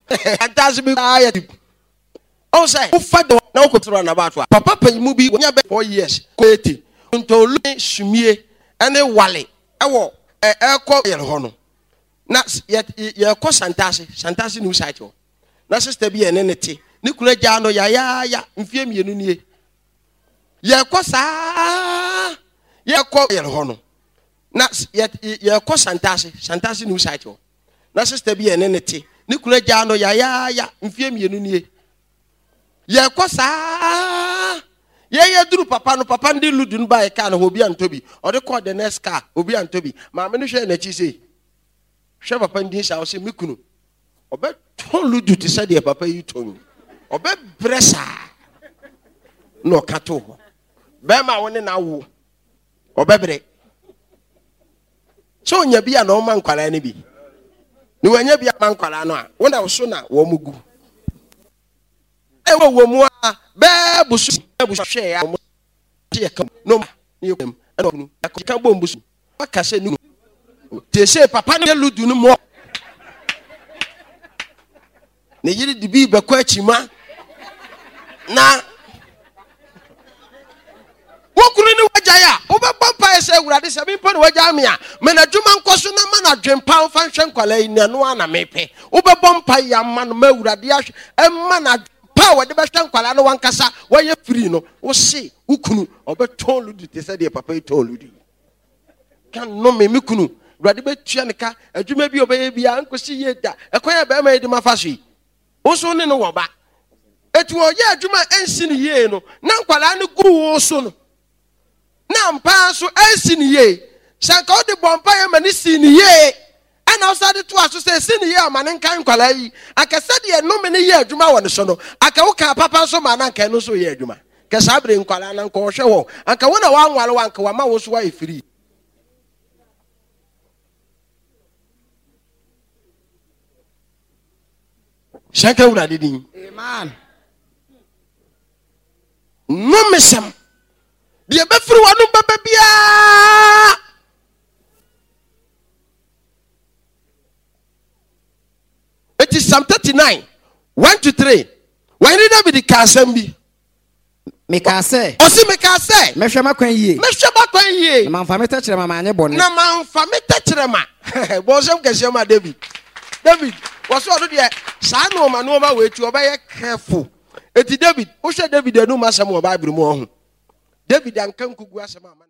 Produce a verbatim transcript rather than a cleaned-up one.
Santase bi ayɛ ɔn sɛ wofa de na wokɔ toro anabato a papa panyimu bi wɔnya bɛ four years kɔɛti ntɔlu ne sumie ɛne wale ɛwɔ ɛkɔ yɛn hɔ no na yɛ yɛkɔ Santase Santase new site hɔ na sister bi yɛ ne ne te ne kunu agya no yayaaya mfie mmienu nie yɛkɔ saa yɛkɔ yɛn hɔ no na yɛ yɛkɔ Santase Santase new site hɔ na sister bi yɛ ne ne te ne kunu agya no yayaaya mfie mmienu nie yɛkɔ saa yɛyɛ duru papa no papa no de ludu no baeɛ kaa no hɔ obi antɔ bi ɔde kɔɔ the next car obi antɔ bi maame no hwɛ n'akyi sei hwɛ papa no din saa ɔsɛ me kunu ɔbɛtɔn ludu te sɛ deɛ papa yi tɔn yi ɔbɛbrɛ saa na ɔka to hɔ bɛrima a wo ne n'awo ɔbɛbrɛ sɛ onya bi a na ɔma nkwadaa no bi ne wanya bi ama nkwadaa no a wo na so na wɔn gu ɛwɔ wɔ mu a bɛɛ busu busu hwɛ ya wɔn yɛ ka no ne yɛ kɔm ɛna ɔkunu ka bɔ mbusu aka sɛ ne te sɛ papa no yɛ ludu no mɔ ne yere de bi bɛkɔ akyi ma na wokunu ne wagyae a wobɛbɔ mpaeɛ sɛ awurade sɛ mempɛ ne wagyae me a ma n'adwuma nkɔ so na ma n'adwempa mfa nhwɛ nkwalaa yi nano a na mepɛ wobɛbɔ mpaeɛ ama no ma awurade ahwɛ ɛma n'adwempa a wɔde bɛhwɛ nkwalaa no wankasa wɔyɛ firi no wo se wo kunu ɔbɛtɔn ludu te sɛ deɛ papa yi tɔn ludu yi ka nnome me kunu awurade bɛtua ne ka adwuma bi a ɔbɛyɛ biara nkɔsi yie da ɛkwan a bɛrima yi de ma fa so yi wo nso ne no wɔ ba eti ɔyɛ adwuma a ɛnsi ne yie no na nkwadaa no gu wo so no na mpaa nso ɛnsi ne yie sɛ nka wode bɔ mpa yɛ ma ne si ne yie ɛna wosa de to aso sɛ esi ne yie ama ne nka nkwadaa yi anka sɛdeɛ nnome no yɛ adwuma wɔ ne so no anka woka papa nso ma na anka ɛno nso yɛ adwuma kɛ saa bere nkwadaa na nka ɔhwɛ hɔ anka wo na wanwale wo anka wama wo nso wayɛ firi hyɛnka awurade din Amen. nnomesɛm deɛ ɛbɛfiri w'anom bɛba biara eti psalm thirty nine one to three wɔhene david ka asɛm bi Mekaa sɛ, ɔsi mekaa sɛ mɛhwɛ m'akwan yie. mɛhwɛ m'akwan yie Na mamfa me tɛkyerɛma manyɛ bɔne. na mamfa me tɛkyerɛma bɔnsɛm kɛseɛ ma david david wɔsɛ ɔno deɛ saa nneɛma nneɛma wɔ eti ɔbɛyɛ careful eti david wohwɛ david anum asɛm wɔ bible mu ɔho david anka nkugu asɛm ama